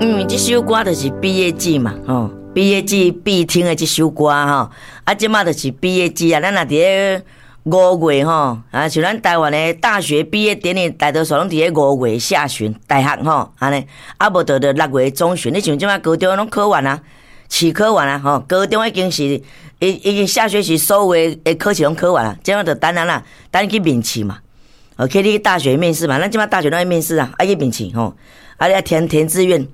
嗯，這首歌就是畢業季嘛，吼，畢業季必聽的這首歌吼。啊，這馬就是畢業季啊，咱若佇咧五月吼，啊，像咱台灣的大學畢業典禮，大多數攏佇咧五月下旬，大學吼，按呢，啊，無就六月中旬。你像這馬高中攏考完啊，試考完啊，吼，高中已經是已經下學期所有的考試攏考完啊，這馬就等咱啦，等去面試嘛，哦，去你大學面試嘛，咱這馬大學攏愛面試啊，愛去面試吼，啊，你愛填填志願。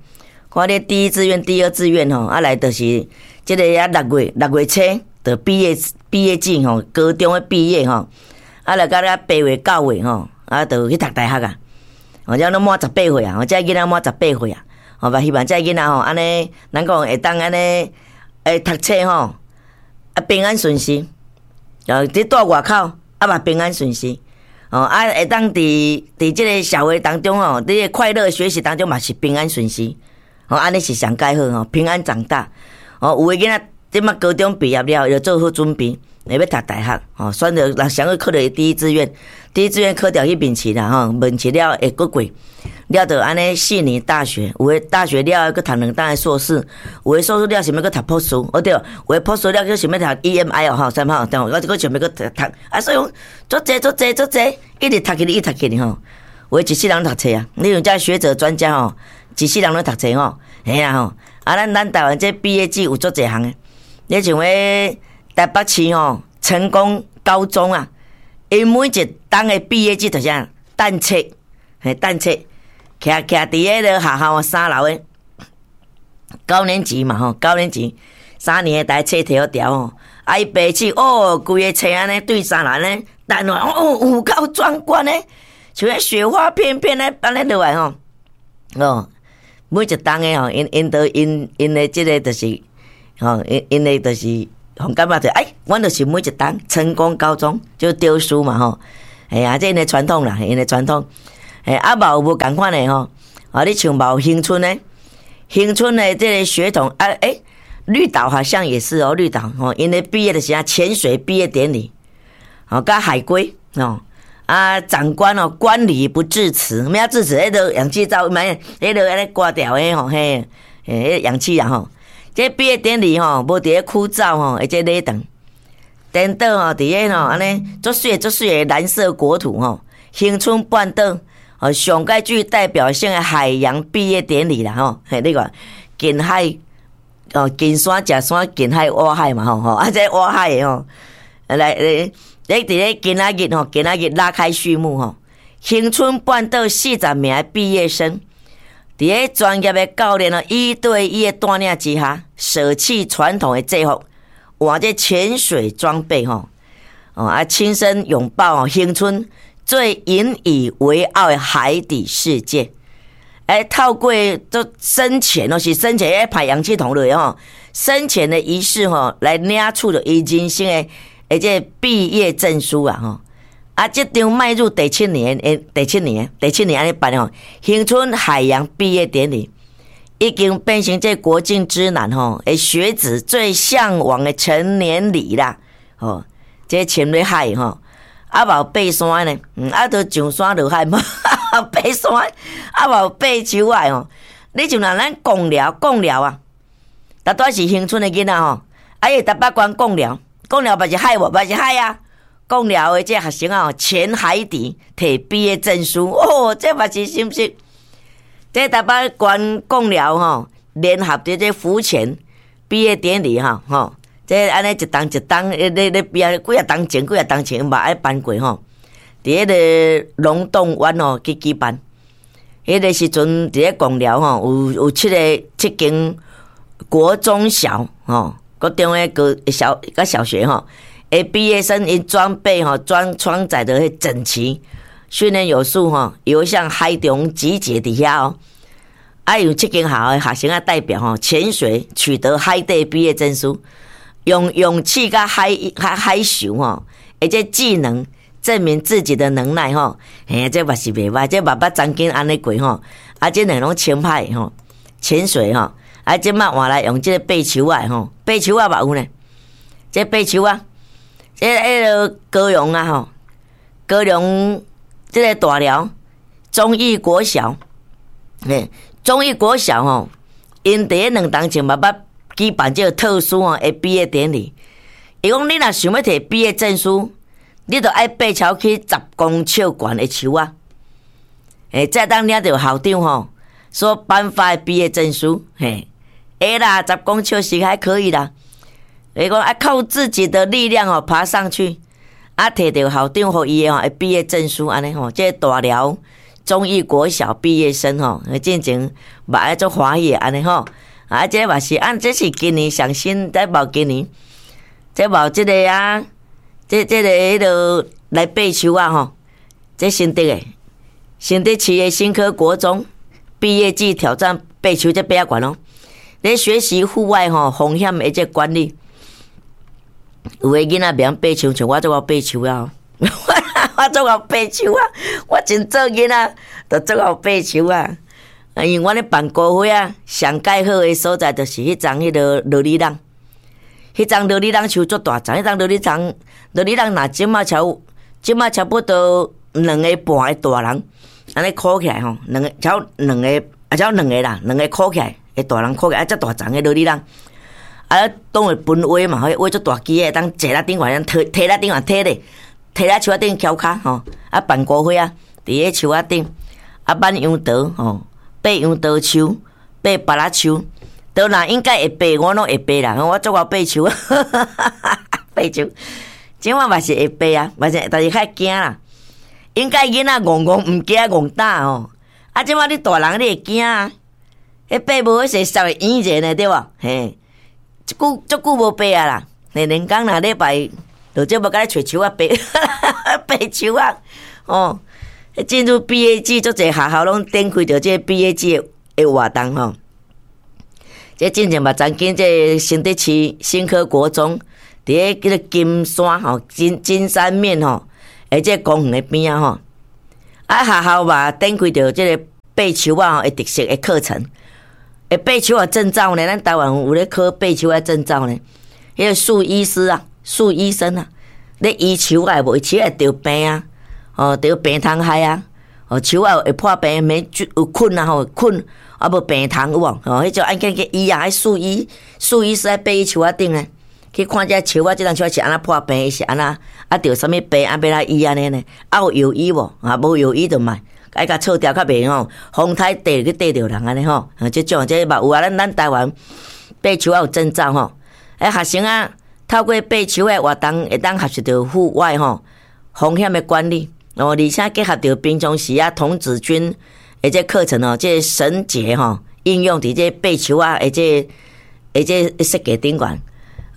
看你第一志願、第二志願吼，啊來就是這个啊六月初就畢業季吼，高中的畢業吼，啊來到了8月9月吼，啊就去讀大學啊，哦，這攏滿十八歲啊，這囡仔滿十八歲啊，吼，嘛希望這囡仔吼，按呢，咱講會當按呢，會讀冊吼，啊平安順遂，啊，佇蹛外口啊嘛平安順遂，哦，啊會當佇這个社會當中吼，佇個快樂學習當中嘛是平安順遂。哦，按呢是上蓋好吼，平安長大。哦，有的囡仔這馬高中畢業了，就做好準備，會欲讀大學。哦，選擇若想欲考著第一志願，第一志願考著去面試啦吼，面試了會閣過，了就按呢四年大學，有的大學了後閣讀兩冬的碩士，有的碩士了想欲閣讀博士，哦對，有的博士了閣想欲讀 EMI 哦吼，啥物吼，對，我閣想欲閣讀讀，啊所以講足濟足濟足濟，一直讀起去，一直讀起去吼。有的一世人讀冊啊，你像這學者專家吼。一世人攏讀冊吼，嘿啊吼！啊，咱台灣這畢業季有足濟項的，你像彼台北市吼，成功高中啊，𪜶每一冬的畢業季就是按彈冊，嘿，彈冊，徛徛佇彼个學校三樓的高年級嘛吼，高年級三年的台冊提予牢吼，啊伊爬起哦，規个冊按呢對三樓按呢彈落來，哦，有夠壯觀的，像彼雪花片片咧按呢落來吼，哦。每一冬的吼，𪜶𪜶都𪜶𪜶的這个就是，吼，𪜶𪜶的就是，予感覺就哎，阮就是每一冬成功高中就丟書嘛吼，哎呀，這𪜶的傳統啦，𪜶的傳統，哎，啊嘛有無仝款的吼，啊，你像嘛有恆春的，恆春的這个學童啊，欸，綠島好像也是哦，綠島吼，𪜶的畢業的時陣潛水畢業典禮，哦，佮海龜哦。啊，長官哦，觀禮不致辭，啥物致辭？彼个氧氣罩，毋彼个按呢掛牢的吼，嘿，彼氧氣啊吼。這畢業典禮吼，無佇咧枯燥吼，而且禮堂，顛倒吼，佇咧吼，按呢足媠足媠的藍色國土吼，恆春半島哦，上蓋具代表性的海洋畢業典禮啦吼，嘿，你看近海哦，近山食山，近海挖海嘛吼吼，啊，這挖海的吼，來來。咧佇咧今仔日吼，今仔日拉開序幕吼，恆春半島40名的畢業生，佇咧專業的教練哦，一對一的帶領之下，捨棄傳統的制服，換這潛水裝備吼，哦啊，親身擁抱恆春最引以為傲的海底世界。欸，透過做深潛哦，是深潛咧排氧氣筒落吼，深潛的儀式吼，來領取著伊人生的。而且畢業證書啊，吼啊，這場邁入第七年，欸，第七年，第七年按呢辦吼，恆春海洋畢業典禮已經變成這國境之南吼，的學子最嚮往的成年禮啦，吼，這潛入海吼，啊，嘛有爬山呢，嗯，啊，都上山落海嘛，爬山，啊，嘛有爬樹仔吼，你像若咱貢寮，貢寮啊，逐擺是恆春的囡仔吼，啊，伊台北縣貢寮。貢寮嘛是海無？嘛是海啊！貢寮的這學生啊，潛海底提畢業證書，哦，這嘛是是毋是？這台北縣貢寮吼，聯合佇這浮潛畢業典禮吼吼，這按呢一冬一冬咧咧咧畢業，幾若冬前幾若冬前嘛愛辦過吼。佇彼个龍洞灣吼去舉辦，彼个時陣佇咧貢寮吼，有七個七間國中小吼。國中的高小佮小學吼，的畢業生𪜶裝備吼，裝裝載得彼整齊，訓練有素吼，遊向海中集結佇遐哦。啊，有七間學校的學生啊代表吼，潛水取得海底畢業證書，用勇氣佮海海海獸吼，而且技能證明自己的能耐吼。嘿，這嘛是袂䆀，這嘛捌曾經按呢過吼。啊，這兩攏清歹吼，潛水吼。啊，這馬換來用這個爬樹仔吼，爬樹仔嘛有呢。這爬樹仔，這彼个高雄啊吼，高雄這個大寮忠義國小，嘿，忠義國小吼， 𪜶佇咧2冬前嘛捌舉辦這個特殊吼的畢業典禮。伊講你若想欲提畢業證書，你著愛爬超去10公尺懸的樹仔，才當領著校長吼所頒發的畢業證書。嘿，會啦，十公尺是還可以啦。伊講愛靠自己的力量吼爬上去，啊，提著校長予伊的吼畢業證書按呢吼，這個大寮忠義國小畢業生吼，進前嘛愛足歡喜的按呢吼，啊，這嘛是按這是今年上新，這無今年，這無這个啊，這個彼落來爬樹仔吼，這新竹的新竹市的新科國中畢業季挑戰爬樹，這爬較懸哦。咧學習戶外吼風險的這管理，有的囡仔袂曉爬樹，像我足𠢕爬樹啊，我足𠢕爬樹啊，我真做囡仔就足𠢕爬樹啊。因為阮咧辦歌會啊，上蓋好的所在就是彼叢彼个琉璃櫳，彼叢琉璃櫳樹足大叢，彼叢琉璃櫳琉璃櫳若這馬差不多兩个半的大人，按呢箍起來吼，兩个超兩個啊，超兩个啦，兩个箍起來的大人箍起來，啊，遮大叢的琉璃櫳，啊，當會分畫嘛，彼畫足大支的，當坐咧頂懸，提提咧頂懸提咧，提咧樹仔頂蹺跤吼，啊，辦歌會啊，佇咧樹仔頂，啊，挽楊桃吼。爬楊桃樹，爬芭樂樹，當然應該會爬，我攏會爬啦。我足𠢕爬樹，爬樹，這馬嘛是會爬啊，嘛是，但是較驚啦。應該囡仔戇戇毋驚戇膽吼，啊，這馬你大人你會驚啊？彼爬無彼勢稍會遠者呢，對無？嘿，足久足久無爬啊啦。連工若禮拜，就這無共你揣樹仔爬，爬樹仔，哦。進入畢業季，足濟學校攏展開著這個畢業季的活動吼。這進前嘛，曾經這新竹市新科國中，佇咧叫做金山吼，金山面吼，的這個公園的邊仔吼，啊，學校嘛展開著這個爬樹仔吼的特色的課程。會爬樹仔證照呢，咱台灣有咧考爬樹仔證照呢。彼個樹醫師啊，樹醫生啊，咧醫樹仔無？樹仔會著病啊。哦，著病蟲害啊！哦，樹仔會破病，免有菌啊吼，菌啊無病蟲有無？哦，彼種按叫醫啊，彼樹醫樹醫師愛爬去樹仔頂呢，去看這樹仔，這叢樹仔是按怎破病，是按怎啊？著啥物病啊？欲按怎醫按呢呢？啊有藥醫無？啊無藥醫就莫，愛共銼掉較袂吼，風颱硩去硩著人按呢吼。這種這嘛有啊，咱台灣爬樹仔有證照吼。欸，學生啊，透過爬樹的活動，會當學習著戶外吼風險的管理。哦，而且結合著平常時啊，童子軍的這課程哦，這個繩結吼應用佇這爬樹仔的這的這設計頂懸，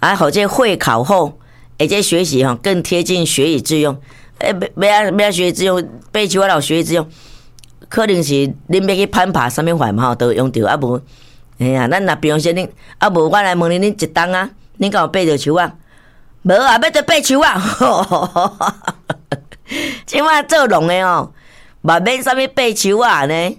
啊，予這會考後，的這學習吼更貼近學以致用。欸，欲欲按欲按學以致用，爬樹仔有學以致用，可能是恁欲去攀爬啥物法嘛吼，都用著啊無。嘿啊，咱若平常時恁啊無，我來問恁，恁一冬啊，恁敢有爬著樹仔？無啊，欲著爬樹仔。這馬做農的吼，嘛免啥物爬樹仔呢。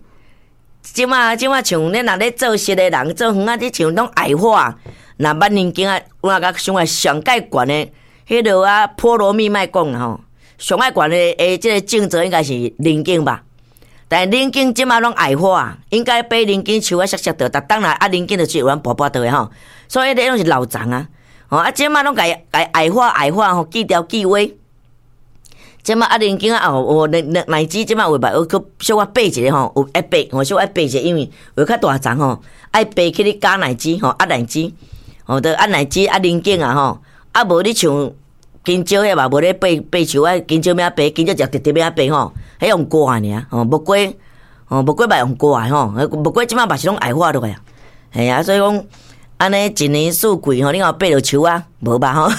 這馬像恁若咧做實的人，做園仔，你像攏矮化。若挽寧景啊，我感覺上愛上蓋懸的，彼落啊菠蘿蜜莫講吼，上愛懸的的這個種植應該是寧景吧？但是寧景這馬攏矮化，應該爬寧景樹仔熟熟著，逐冬來啊寧景就是有人跋跋倒的吼，所以彼個攏是老欉啊。吼啊，這馬攏共伊矮化矮化吼，锯掉锯歪。這馬啊，寧景啊，哦，奶奶奶子這馬有吧？有閣小可爬一下吼，有愛爬，吼小可愛爬一下，因為有較大叢吼，愛爬去咧加奶子吼，壓奶子，吼，著壓奶子壓寧景啊吼，啊無你像香蕉彼嘛無咧爬爬樹啊，香蕉欲按爬，香蕉就直直欲按爬吼，彼用掛的爾，吼木瓜，吼木瓜嘛用掛的吼，木瓜這馬嘛是攏矮化落來啊，嘿啊，所以講按呢一年四季吼，你有爬著樹啊？無吧吼，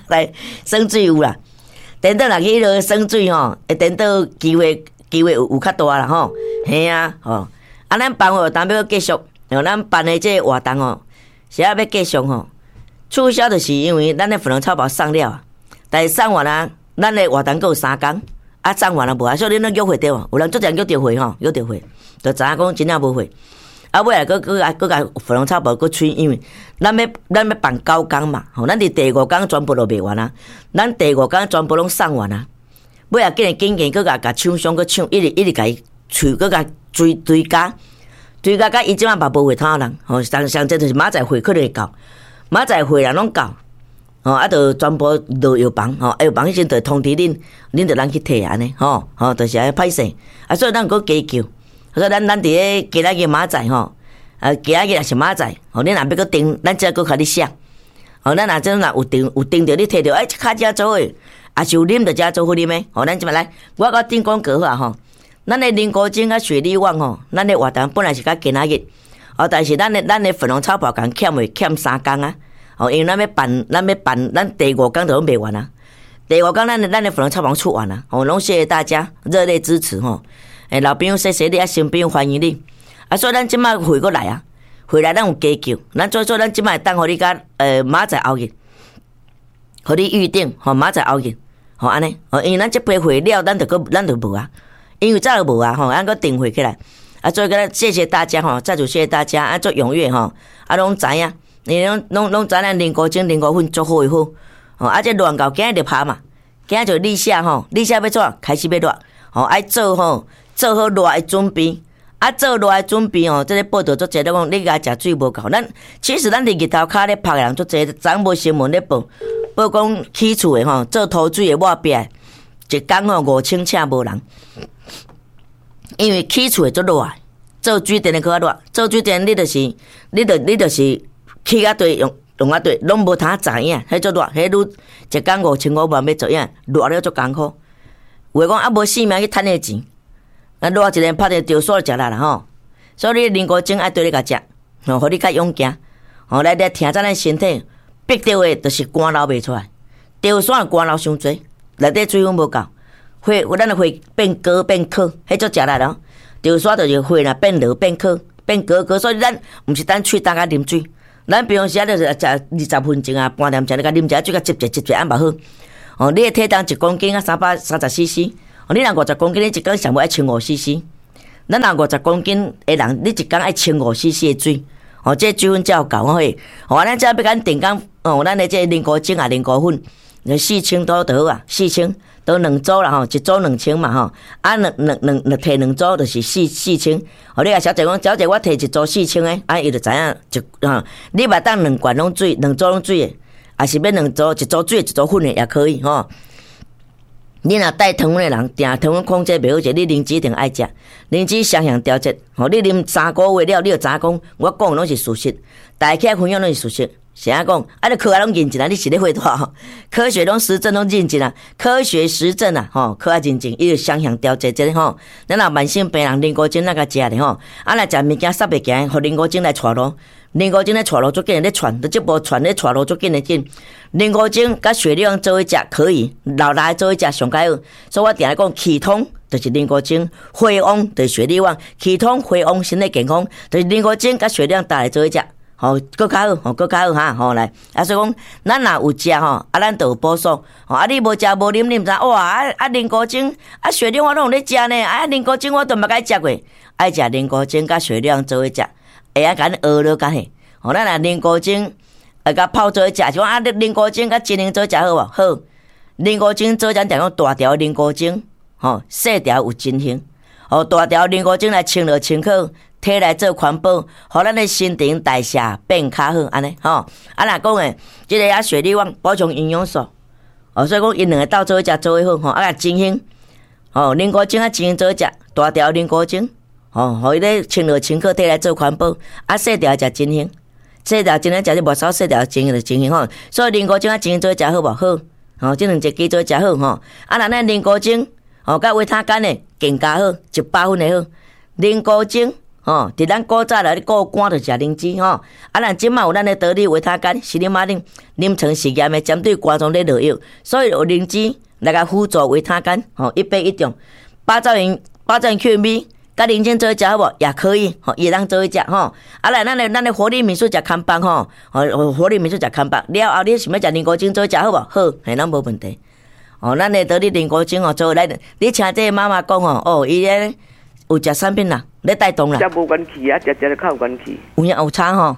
來耍水有啦。顛倒若去彼落耍水吼，會顛倒機會機會有較大啦吼，嘿啊吼，啊咱辦活動欲閣繼續，咱辦的這個活動吼，是猶欲繼續吼，取消就是因為咱的粉紅草包送了，但是送完啊，咱的活動閣有3工，啊送完啊無啊，所以恁攏約會對無？有人足濟人約著會吼，約著會，就知影講真正無貨。啊，尾來閣閣共閣共粉紅草包閣催，因為咱欲辦9工嘛，吼，咱佇第五工全部都賣完啊，咱第五工全部攏送完啊。尾仔緊緊緊閣共共廠商閣搶，一直一直共伊催，閣共追追加，推甲甲伊這擺嘛無血通人，吼，上上濟就是明仔載血可能會夠，明仔載血人攏夠，吼，啊，就全部落藥房，吼，藥房彼陣就通知恁，恁就通去提按呢，吼，吼，就是按呢歹勢，啊，所以咱閣加求，所以咱佇咧今仔日明仔載吼，啊，今仔日也是明仔載，吼，恁若欲閣訂，咱才閣共你寫，吼，咱若真若有訂有訂著，你提著，欸，較遮做伙，也是有啉就遮做伙啉的，吼，咱這擺來，我閣頂廣告好啊吼。咱的林國晶佮雪莉旺吼，咱的活動本來是佮今仔日，哦，但是咱的粉紅草跑共欠未欠3工啊，哦，因為咱欲辦，咱欲辦，咱第五工就攏賣完啊，第五工咱的粉紅草房出完啊，哦，攏謝謝大家熱烈支持吼，欸，老朋友謝謝你，啊，新朋友歡迎你，啊，所以咱這擺回過來啊，回來咱有加求，咱做做咱這擺等予你佮明仔載後日，予你預定吼，明仔載後日，吼按呢，哦，因為咱這批貨了，咱就閣咱就無啊。因為早就無啊吼，咱閣訂貨起來，啊，所以閣謝謝大家吼，再次謝謝大家啊，足踴躍吼，啊，攏知影，你攏知咱林國晶、林國粉足好的好，吼，啊，這熱到今日就拍嘛，今日就立夏吼，立夏欲怎開始欲熱，吼，愛做吼，做好熱的準備，啊，做熱的準備吼，這个報道足濟，咧講你共食水無夠，咱其實咱佇日頭跤咧曝的人足濟，昨無新聞咧報，報講起厝的吼，做塗水的抹壁，一工吼5000尺無人。因為起厝會足熱，做水電的閣較熱，做水電你就是，你就是起較濟用用較濟，攏無通知影，彼足熱，彼愈一工5500欲做影，熱了足艱苦。有的講啊無性命去趁彼個錢，啊熱一个拍著著煞食力啦吼。所以你林國晶愛對你共食，吼，予你較勇健，吼來來聽咱的身體逼著的，就是汗流袂出來，著煞汗流傷濟，內底水分無夠。血，咱的血變高變渴，彼足食力咯。著煞就是血若變濁變渴變高高，所以咱毋是等喙焦佮啉水。咱平常時啊，就是食20分鐘啊，半點鐘，你共啉一下水，共接者接者按嘛好。哦，你的體重1公斤啊，330 cc。哦，你若50公斤，你一工上無愛1500 cc。咱若50公斤的人，你一工愛1500 cc 的水。哦，這水分才有夠吼。哦，咱這欲共定工，哦，咱的這個林國晶啊，林國粉，4000多就好啊，四千。都兩組啦吼，一組2000嘛吼，啊兩兩兩兩提兩組就是四千。哦，你共小姐講，小姐我提一組四千的，啊伊就知影一吼，你嘛當兩罐攏水，兩組攏水的，抑是欲兩組一組水一組粉的也可以吼。你若帶糖分的人，定糖分控制袂好者，你靈芝一定愛食，靈芝雙向調節。吼，你啉3個月了，你就知影講，我講的攏是事實，大家起來分享攏是事實。是按講，啊！你科學攏認真啊！你是咧廢話？科學攏實證攏認真啊！科學實證啊！吼，科學認證，伊就雙向調節這个吼。咱若慢性病人，林國晶那個食咧吼，啊若食物件塞袂行，予林國晶來帶路。林國晶咧帶路足緊咧傳，這部傳咧帶路足緊的緊。林國晶佮雪莉做伙食可以，老來做伙食上較好。所以我定定講，氣通就是林國晶，血旺就是雪莉旺，氣通血旺，身體健康，就是林國晶佮雪莉旺搭來做伙食。吼，閣較好，吼，閣較好哈，吼來。啊，所以講，咱若有食吼，啊，咱就有補數。吼，啊，你無食無啉，你毋知哇，啊啊，林國晶，啊，雪莉我攏有咧食呢，啊，林國晶我都毋捌共食過，愛食林國晶佮雪莉做伙食，會曉共恁學落較嘿。吼，咱若林國晶啊，共泡做伙食，是講啊，林國晶佮金玲做伙食好無？好。林國晶做咱定講大條林國晶，吼，細條有真形。吼，大條林國晶來清熱清口。提來做環保，予咱的新陳代謝變較好，按呢吼。啊，若講的這个啊，雪莉旺補充營養素，哦，所以講𪜶兩个鬥做伙食做伙好吼。啊，真興吼，林國晶啊，真興做伙食大條林國晶，吼，予伊咧清熱清口，提來做環保。啊，細條食真興，細條真興食你無少細條真興就真興吼。所以林國晶啊，真興做伙食好無？好，吼，這兩隻雞做伙食好吼。啊，若咱林國晶吼，佮維他乾的更加好，100分的好，林國晶。吼，佇咱古早來咧顧肝就食靈芝吼，啊，咱這擺有咱的得力維他乾，是啉仔啉臨床實驗的針對肝臟咧落藥，所以有靈芝來共輔助維他乾，吼，一百一種。八兆元八兆元 QMB，佮靈芝做伙食好無？也可以，吼，伊會當做伙食吼。啊，來咱的活力民宿食康棒吼，吼，活力民宿食康棒了後，你想欲食林國晶做伙食好無？好，嘿，攏無問題。哦，咱的得力林國晶哦，做來，你聽這个媽媽講吼，哦，伊咧。有食產品啦，咧帶動啦。食無元氣啊，食食就較有元氣。有影有差吼，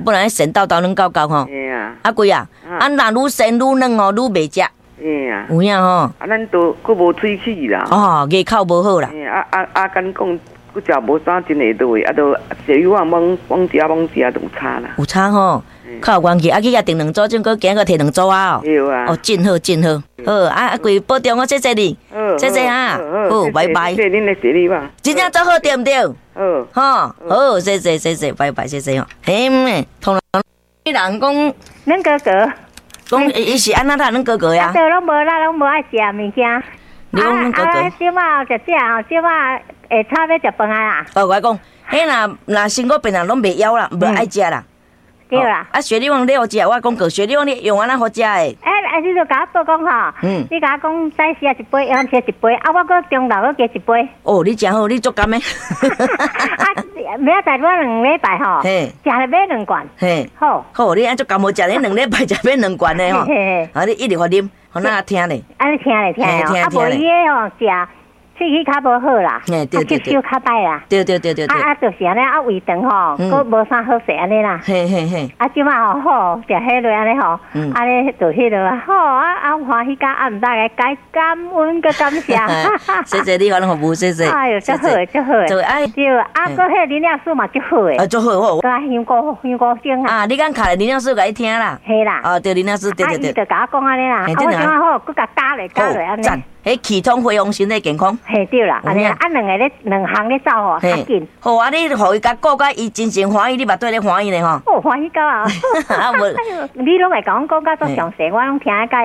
本來神叨叨軟厚厚吼。嘿啊。啊貴啊，啊若愈身愈軟吼，愈袂食。嘿啊。有影吼。啊，咱都閣無喙齒啦。哦，牙口無好啦。嘿啊啊啊！敢講閣食無啥真會落，啊，都雪梨丸猛猛食猛食就有差啦。有差吼，較有元氣。啊，去食定兩組，種閣行閣提兩組啊。對啊。哦，真好，真好。好，啊啊，規保重哦，謝謝你。謝謝哈。好，拜拜。謝謝恁的雪梨丸。真正做好對毋對？好。吼，好，謝謝謝謝，拜拜，謝謝吼。嘿，通常人講，恁哥哥。講伊是按怎啦？恁哥哥呀？啊，對，攏無啦，攏無愛食物件。你講恁哥哥。啊，小仔食食吼，小仔下早欲食飯啊啦。哦，我講，彼若若身軀病人攏袂枵啦，無愛食啦。對啦。啊，雪梨王你好食，我講過，雪梨王你用按怎好食的？欸，啊，你就共我報講吼，你共我講早時一杯，下昏時一杯，啊，我閣中晝閣加一杯。哦，你誠好，你足甘的。啊，明仔載我兩禮拜吼，食了買兩罐。嘿，好。好，你按足甘好食，你兩禮拜食買兩罐的吼。啊，你一直予啉，予咱聽咧。啊，你聽咧聽咧，啊，無伊个吼食。喙齒較無好啦，啊，吸收較歹啦。對對對對對。啊啊，就是按呢，啊胃腸吼，閣無啥好勢按呢啦。嘿嘿嘿。啊，這擺吼好，食彼落按呢吼，按呢就彼落啊，好啊啊歡喜甲啊，毋知該該感恩閣感謝。謝謝你，阮服務，謝謝。哎喲，足好的，足好的。對，啊，閣彼個營養師嘛足好的。啊，足好好。閣香菇香菇精啊。啊，你敢敲來營養師共伊聽啦？嘿啦。哦，對，營養師，對對對。啊，伊就共我講按呢啦，啊，我感覺好，閣共加咧加咧按呢。彼系統恢復身體健康。嘿對啦，按呢啊兩个咧兩項咧走吼，較緊。好啊，你予伊共顧甲伊真正歡喜，你嘛對咧歡喜咧吼。哦，歡喜到啊！啊無，你攏會共阮講甲足詳細，我攏聽甲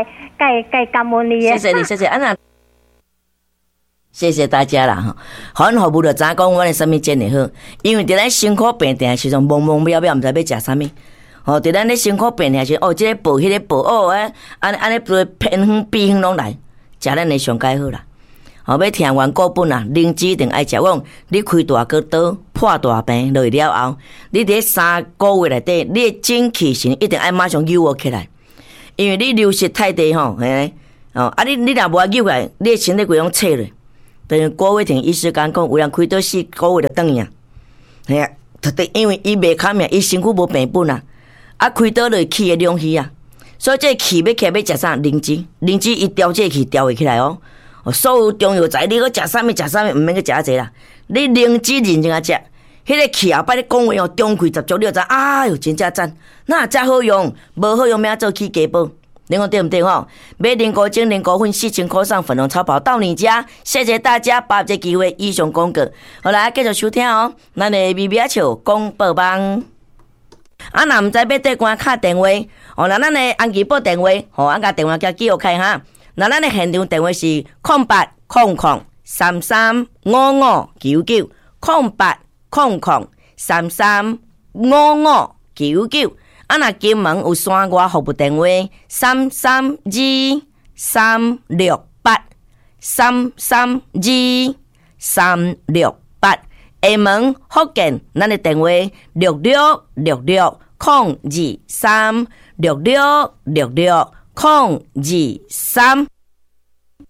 會會感恩你的。謝謝你，謝謝啊那，謝謝大家啦吼。阮服務就知影講，阮的啥物真會好，因為佇咱辛苦病痛的時陣，懵懵渺渺，毋知欲食啥物。吼，佇咱咧辛苦病痛時，哦，這個補，彼個補，哦，按按按呢偏方秘方攏來。食咱的上蓋好啦，吼，欲疼元固本啊，靈芝一定愛食。我講你開大個刀破大病落去了後，你佇3個月內底，你的精氣神一定愛馬上扭起來，因為你流失太濟吼，嘿，哦，啊你你若無愛扭起來，你的身體規攏脆咧。等於郭偉廷醫師講講，有人開刀4個月就轉去啊，嘿啊，特別因為伊袂堪命，伊身軀無病本啊，啊開刀就氣的兩虛啊。所以這氣欲起來欲食啥？靈芝，靈芝伊調這氣調會起來哦。所有中藥材，你閣食啥物食啥物，毋免去食遐濟啦。你靈芝認真仔食，彼個氣後擺你講話哦，中氣十足，你就知，哎喲，真正讚，哪遮好用？無好用，欲按怎做起家寶？你講對毋對吼？買靈菇精、靈菇粉4000塊送粉紅超跑到你家，謝謝大家把握這機會，以上廣告。好來，繼續收聽哦，咱的微微仔笑廣播網。啊，若毋知欲綴關敲電話，哦，若咱的安吉撥電話，吼，按共電話共記錄開哈。若咱的現場電話是0800335599，0800335599。啊，若金門有山外服務電話，332368，332368。廈門福建，咱的電話6666023，6666023。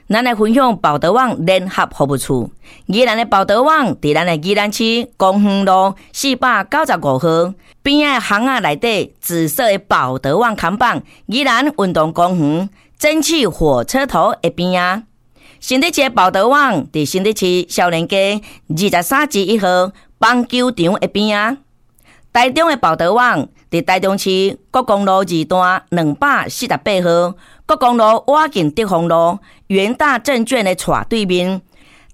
咱來分享寶德網聯合服務處，宜蘭的寶德網佇咱的宜蘭市公園路495號邊仔巷仔內底紫色的寶德網看板，宜蘭運動公園蒸汽火車頭的邊仔。新竹市的寶德網佇新竹市少年街23之1號棒球場的邊仔。台中的寶德網佇台中市國光路二段248號國光路倚近德豐路元大證券的斜對面。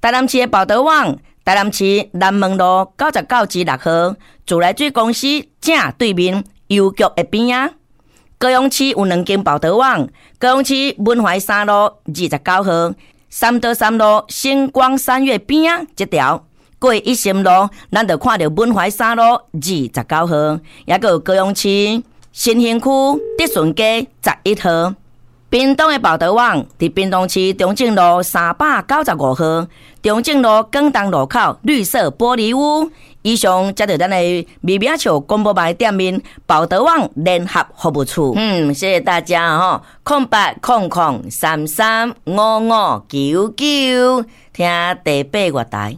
台南市的寶德網，台南市南門路99之6號自來水公司正對面郵局的邊仔。高雄市有兩間寶德網，高雄市文懷三路29號。三多三路星光三月邊仔這條過一心路，咱就看著文懷三路29號，抑閣有高雄市新興區德順街11號。屏東的寶德網佇屏東市中正路395號，中正路廣東路口綠色玻璃屋。以上才著咱的微微仔笑廣播網店面寶德網聯合服務處。嗯，謝謝大家吼，0800335599，聽第八月台。